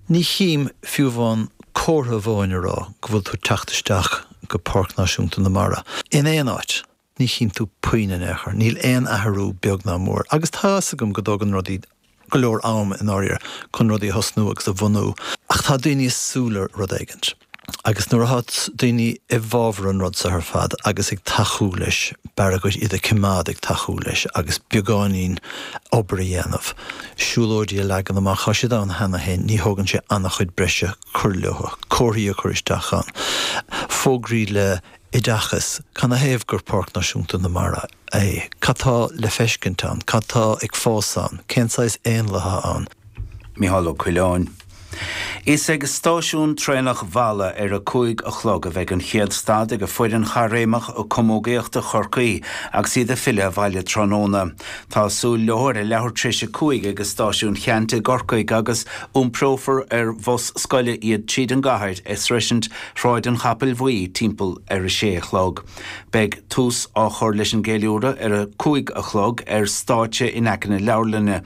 Ní chím fiú amháin comhartha amháin a rá go bhfuil tú ag teacht isteach go Páirc Náisiúnta na Mara. In aon áit, ní chím tú puinn in aon chor. Níl aon athrú beag ná mór. Agus tá fhios agam go dtógann rudaí go leor am i ndáiríre chun rudaí a thosnú agus a bhunú, ach tá daoine ag súil le rud éigint. Agus nuair atá daoine i bhfabhar an rud seo ar fad agus ag tacú leis, b'fhearr dhuit iad a choimeád ag tacú leis agus beagáinín obair a dhéanamh, siúlóidí a leagan amach, tá siad ann cheana féin, ní thógann sé an-chuid breise cur leo, comharthaí a chur isteach ann, fógraí le oideachas, canathaobh gur Páirc Náisiúnta na Mara é, cad tá le feiscint ann, cad tá ag fás ann, cén saghas éanlaithe ann. Mícheál Ó Coileáin. Is ag stáisiún traenach Mhalla ar a 5 a chlog a bheidh an chéad stad ag foireann chaithréimeach camógaíochta Chorcaí agus iad ag filleadh abhaile tráthnóna. Tá súil leo ar a leathuair tar éis a 5 ag Stáisiún Cheannt i gCorcaigh agus iomprófar ar bhus scoile iad tríd an gcathair ag sroisint Shráid an Chapaill Bhuí timpeall ar a sé a chlog. Beidh tús á chur leis an gceiliúradh ar a 5 a chlog ar stáitse in aice na leabharlainne.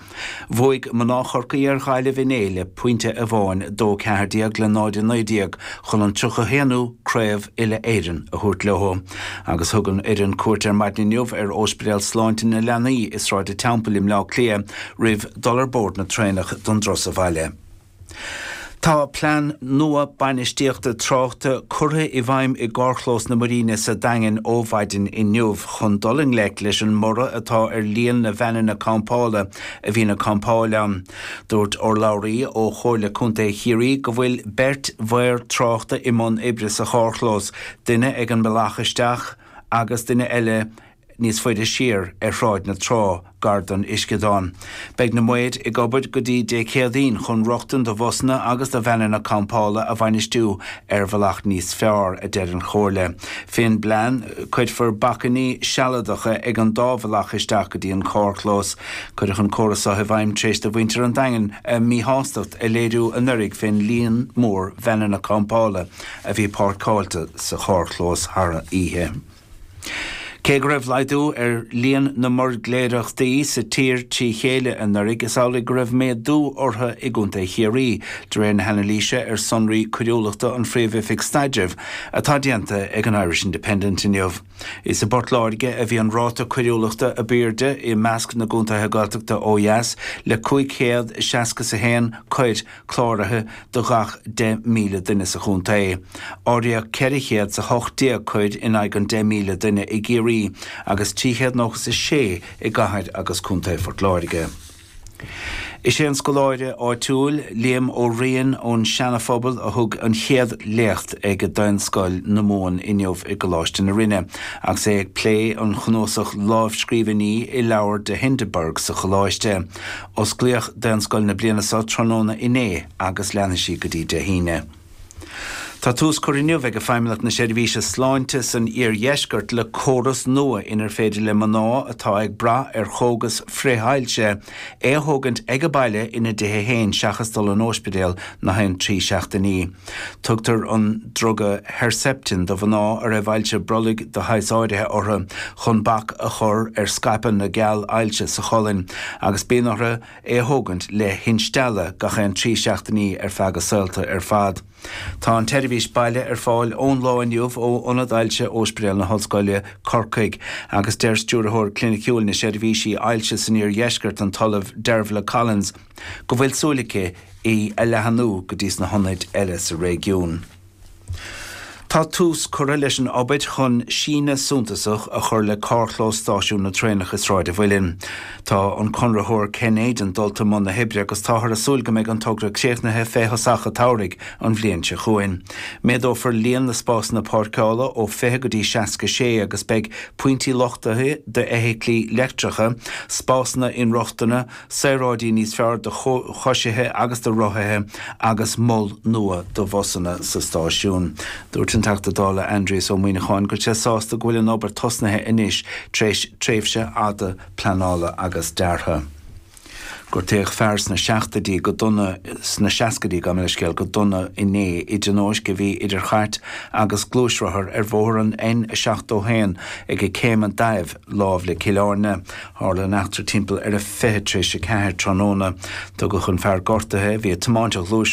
Bhuaigh mná Chorcaí ar Ghaillimh inné le pointe amháin, 2 14 le 0 19, chun an 31ú Craobh Uile-Éireann a thabhairt leo. Agus thug an fhoireann cuairt ar maidin inniu ar Ospidéal Sláinte na Leanaí i Sráid an Teampaill i mBleá Cliath roimh dul ar bord na traenach don dturas abhaile. Tá plean nua bainistíochta tráchta curtha i bhfeidhm i gcarrchlós na Muiríne sa Daingean ó mhaidin inniu chun dul i ngleic leis an mborradh atá ar líon na veaineanna campála a bhíonn ag campáil ann. Dúirt urlabhraí ó Chomhairle Contae Chiarraí go bhfuil beirt mhaor tráchta i mbun oibre sa charrchlós, duine ag an mbealach isteach agus duine eile níos faide siar ar Shráid na Trá, gar don uisceadán. Beidh na maoir ag obair go dtí Dé Céadaoin chun rochtain do bhusanna agus do veaineanna campála a bhainistiú ar bhealach níos fearr, a deir an Chomhairle. Fén bplean, cuirfear bacainní sealadacha ag an dá bhealach isteach go dtí an carrchlós. Cuireadh an córas seo i bhfeidhm tar éis do mhuintir an Daingin a míshástacht a léiriú anuraidh fén líon mór veaineanna campála a bhí páirceáilte sa charrchlós thar an oíche. Cé go raibh laghdú ar líon na mbuirgléireachtaí sa tír trí chéile anuraidh, is amhlaidh go raibh méadú orthu i gContae Chiarraí, de réir na hanailíse ar sonraí coiriúlachta an Phríomh-Oifig Staidrimh atá déanta ag an Irish Independent inniu. Is i bPort Láirge a bhí an ráta coiriúlachta ab airde i measc na gcontaetha Gaeltachta ó dheas, le 561 coir cláraithe do gach 10,000 duine sa chontae. Áiríodh 418 coir in aghaidh an 10,000 duine i gCiarraí agus 396 i gcathair agus contae Phort Láirge. Is é an scoláire áitiúil, Liam Ó Riain ón Seana-Phobal a thug an chéad léacht ag Daonscoil na Mumhan inniu i gColáiste na Rinne agus é ag plé an chnuasach lámhscríbhinní i leabhar de Hindeberg sa choláiste. Osclaíodh Daonscoil na bliana seo tráthnóna inné agus leanfaidh sí go dtí Dé hAoine. Tá tús curtha inniu ag Feidhmeannacht na Seirbhíse Sláinte san iardheisceart le córas nua inar féidir le mná atá ag brath ar chógas frith-ailse é a thógaint ag a baile ina dtithe féin seachas dul an óispidéal na haon 3 seachtainí. Tugtar an druga Herceptin do mhná a raibh ailse brollaigh de shaghas áirithe orthu chun bac a chur ar scaipeadh na gceall ailse sa cholainn agus bíonn orthu é a thógaint le hinstealladh gach aon 3 seachtainí ar feadh a saolta ar fad. Tá an tseirbhís baile ar fáil ón lá inniu ó Ionad Ailse Óispidéal na hOllscoile, Corcaigh, agus deir Stiúrthóir Cliniciúil na Seirbhísí Ailse san Iardheisceart, an tOllamh Dervla Collins, go bhfuil súil aici í a leathanú go dtí sna hionaid eile sa réigiún. Tá tús curtha leis an obair chun síneadh suntasach a chur le carrchlós stáisiún na traenach i Sráid an Mhuilinn. Tá an conraitheoir Kenaidan dulta i mbun na hoibre agus táthar ag súil go mbeidh an togra críochnaithe fé thosach an tsamhraidh an bhliain seo chugainn. Méadófar líon na spásanna páirceála ó 20 go dtí 66 agus beidh pointí luchtaithe d'fheithiclí leictreacha, spásanna inrochtana, saoráidí níos fearr do choisithe agus do rothaithe agus mol nua do bhusanna sa stáisiún. Dúirt an Teachta Dála Aindrias Ó Muíneacháin go bhfuil sé sásta go bhfuil an obair tosnaithe anois tar éis tréimhse fhada pleanála agus deartha. Gortaíodh fear sna seachtaidí go dona sna seascaidí, gabh mo leithscéal, go dona inné i dtionóisc a bhí idir chairt agus gluaisrothar ar bhóthar an N71 ag Céim an Daimh lámh le Cill Airne. Tharla an eachtra timpeall ar a 4:40 tráthnóna. Tugadh an fear gortaithe, a bhí ag tiomáint a ghluaisrothair,